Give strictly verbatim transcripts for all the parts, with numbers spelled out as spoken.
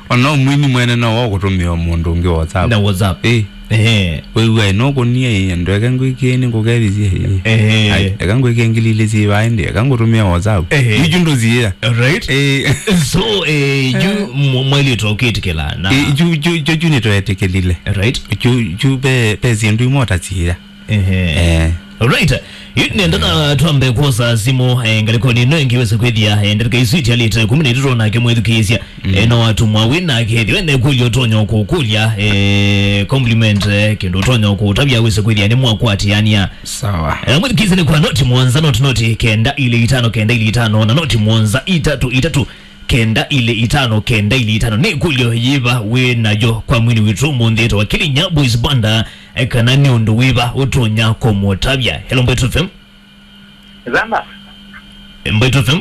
Ona ũmwini mwene no wa kũtũmĩa mũndũ ũngĩ WhatsApp. Na WhatsApp. Eh. Ehe. Wĩw'a ĩ, no kũnia ĩ, andũ eke ngwĩkie nĩ ngũkethĩsye ĩ. Ehe. Ai, eka ngwĩkie ngili ilĩ syĩ vaa ĩndĩ, eka ngũtũmĩa WhatsApp. Ehe. Yu, yu ndũsiĩa. Right. Eh. So, eh, yu mwa-, mwailĩtwe ũkĩtĩkĩla na. Eh, yu, yu, yu, yu nĩtwetĩkĩlile. Right. Yu, yu pe, pe syĩndũ imwe ũtasiĩa. Ehe. Eh. Alright. Yu nenda na twambe kwosa simu, eh, ngalĩkonĩ ĩno ĩngĩ wĩse kwĩthĩa, eh, ndatĩka isu itialĩte kũmi na itatũ nake mwĩthukĩĩsya. Mm. Eh, no watumwa wĩ nake, ethĩwa ene kũlya ũtonya kũkũlya, eh, compliment, eh, kĩndũ ũtonya kũtavya wĩse kwĩthĩa nĩ mwakwatĩania. Sawa. Eh, mwĩthukĩĩsya nĩ kwa noti mũonza, noti, noti kenda ilĩ itano, kenda ilĩ itano, na noti mũonza itatũ itatũ, kenda ilĩ itano, kenda ilĩ itano. Nĩ ĩkũlyo yĩva wĩ nayo kwa mwini witũ ũmũnthĩ? Ĩtawa Kilinya Boys Banda, eh, kana nĩ ũndũ wĩva ũtonya kũmũtavya? Hello, Mbaitu F M. Zamba. Eh, Mbaitu F M.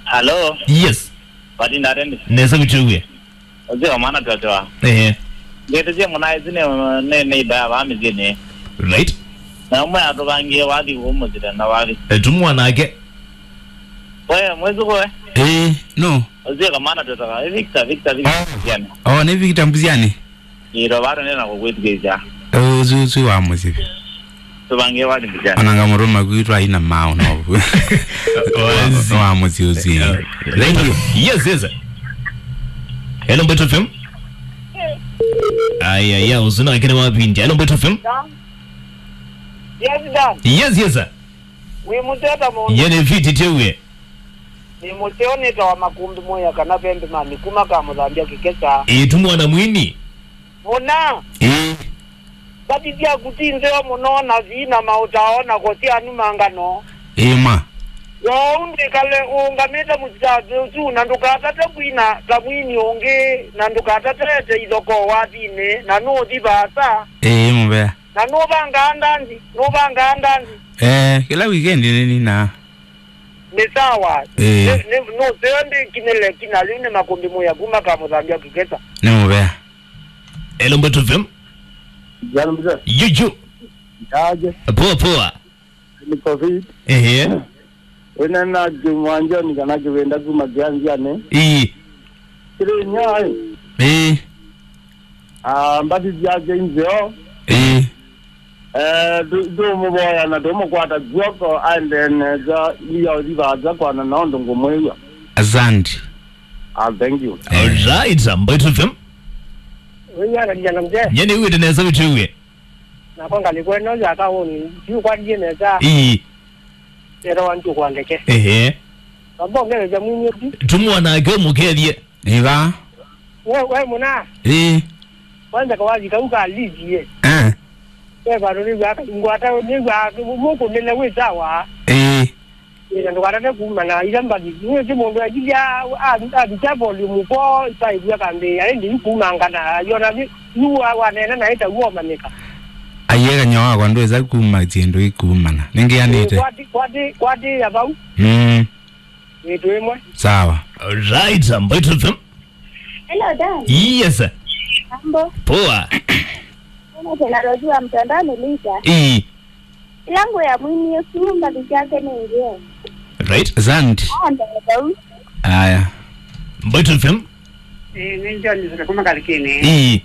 Hello. Yes. Patinda atendi. Nesa kuchugwe. Ozio mana twatwa. Eh. Ngete zie mwana ezi ne, ne, ne ibaya ba mizini. Right. Na umwe atubangie wathi umuzire na wathi. Eh, tumwa nake. Wewe, mwezi kwe? Eh, no. Ozio kamana twatwa. Eh, Victor, Victor, Victor. Ah. Mbuziani. Oh, ni Victor Mbuziani? Iro bado nena kukwĩthukĩĩsya. Eh, uzi, uzi wa mũsyĩ. Tubangie wathi Mbuziani. Ona ngamũtũma kwitũ aina mao no. Wazi. Wa mũsyĩ ũsyĩ. Yeah. Thank you. Yes, yes. Hello, Mbaitu F M. Aya, ya, uzuna kene wa pindi. Hello, Mbaitu F M. Dan. Yes, Dan. Yes, yes, sir. Wĩ mũteta mũno. Yene fiti tewe. Nĩ mũseo nĩtawa Makũmbĩ Mũya kana Pembe Mami kuma Kamũthambya Kĩkesa. Ĩĩ, tu mwana mwini. Mũna. Ĩĩ. Mbathi syaku ti nzeo mũno na sina maũtao na kũsyanuma ngano. Ĩĩ ma. Kwoou ndwĩkale ũũngamĩte mũsitavĩ ũsu na ndũkatate kwina ta mwini ũngĩ na ndũkatate ete ithokoo wathinĩ na nũũthi vaasa. Ĩĩ mũvea. Na nũvangaa ndanzi, nũvangaa ndanzi. Eh, kĩla weekend nĩ nina. Nĩ sawa. Eh. Nĩ, nĩ, nũseo ndĩkinĩle kina lĩu nĩ Makũmbĩ Mũya kuma Kamũthambya Kĩkesa. Nĩ mũvea. Hello, Mbaitu F M. Jana mzee. Yuju. Aje. Poa, poa. Niko fit. Ehe. Wena na Jumwanjoni kana Juvenda kuma Kianziani. Ii. Kiri nyai. Ii. Ah, mbathi syake nzeo. Ĩĩ. Eh, tu-, tũmũvoya na tũmũkwata kw'oko aendee nesa, ĩya ũthi vaasa kwana na ũndũ ngũmwĩw'a. Asante. Ah, thank you. Alright, Mbaitu F M. Wĩnyana kijana mzee. Nye nĩw'ĩte nesa wĩtwĩw'e. Nakwa ngalĩko ĩno ya kaũni, yu kwatie nesa. Ii. Ero wantu kwa ndeke. Ehe. Baba ongeleza mwinyi ti. Tumwa nake ũmũkethie. Ĩva. We, we mũna. Ĩĩ. Kwanza kawazi kau ka liji ye. Eh. We bado ni wa ngwata ni wa muko nene we sawa. Ĩĩ. Ĩĩ, ndũkatate kuma na ila mbathi. Nĩ ti mũndũ ajilia a a volume ko sai kwa kambe ya ndi kuma ngana yona vi yu wa wa nene na ita uo manika. Ayega nyawa kwa ndweza kuma tiendo ikumana. Ningianite. Kwati kwati kwati ya bau. Mm. Nĩ twĩmwe. Sawa. Right, Mbaitu F M. Hello, Dan. Yes. Mambo. Poa. Kama tena Rozi wa mtandao ni Lisa. Ii. Ila nguo ya mwini Yesu, mbathi syake nĩ nzeo. Right. Asante. Ah, ndio. Aya. Mbaitu F M. Eh, nĩ John Zira kuma Kalikini. Ii.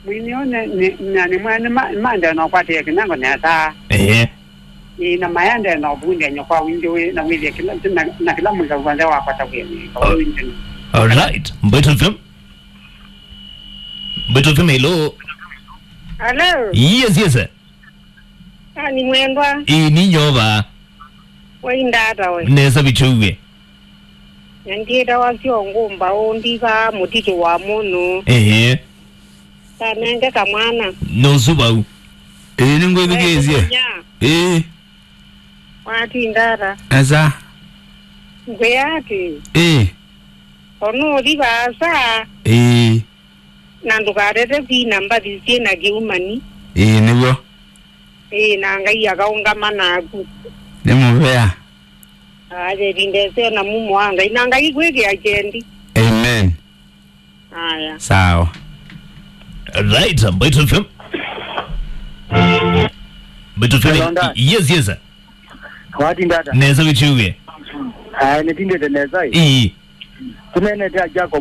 Mwini one ni, na ni mwana ma, mande na kwate kinango ne ata. Eh. Ni na mayande na ubunde nyokwa wingi we na withie kila na, na kila mtu kwanza wa kwata we ni kwa wingi. All right. Mbaitu F M. Mbaitu F M, hello. Hello. Yes, yes, sir. Ah, ni mwendwa. Ii, ni nyova. Waindata we. Nesa bichuwe. Nyandiĩtawa syo ngũmba ũndivaa mũtitũ wa mũnũ. Ehe. Tanenge kamwana. Nũsu vau. Ĩĩ, nĩngwĩthukĩĩsye. Ĩĩ. Watindata. Esa. Ngwĩa atĩ. Ĩĩ. Onũũthi vaasa. Ĩĩ. Na ndũkatete kwina mbathi syĩ na kĩumani. Ĩĩ, nĩw'o. Ĩĩ, na Ngai akaũngama naku. Nĩ mũvea. Aya, ĩvinda ĩseo na mumo wa Ngai. Na Ngai kwĩkĩa kyendi. Amen. Aya. Sawa. Right, Mbaitu F M. Mbaitu F M. Hello, Nda. Yes, yes, sir. Watindata. Nesa wĩtwĩw'e. Aya, nĩtindĩte nesa ĩ. Ii. Tũneenete a Jacob.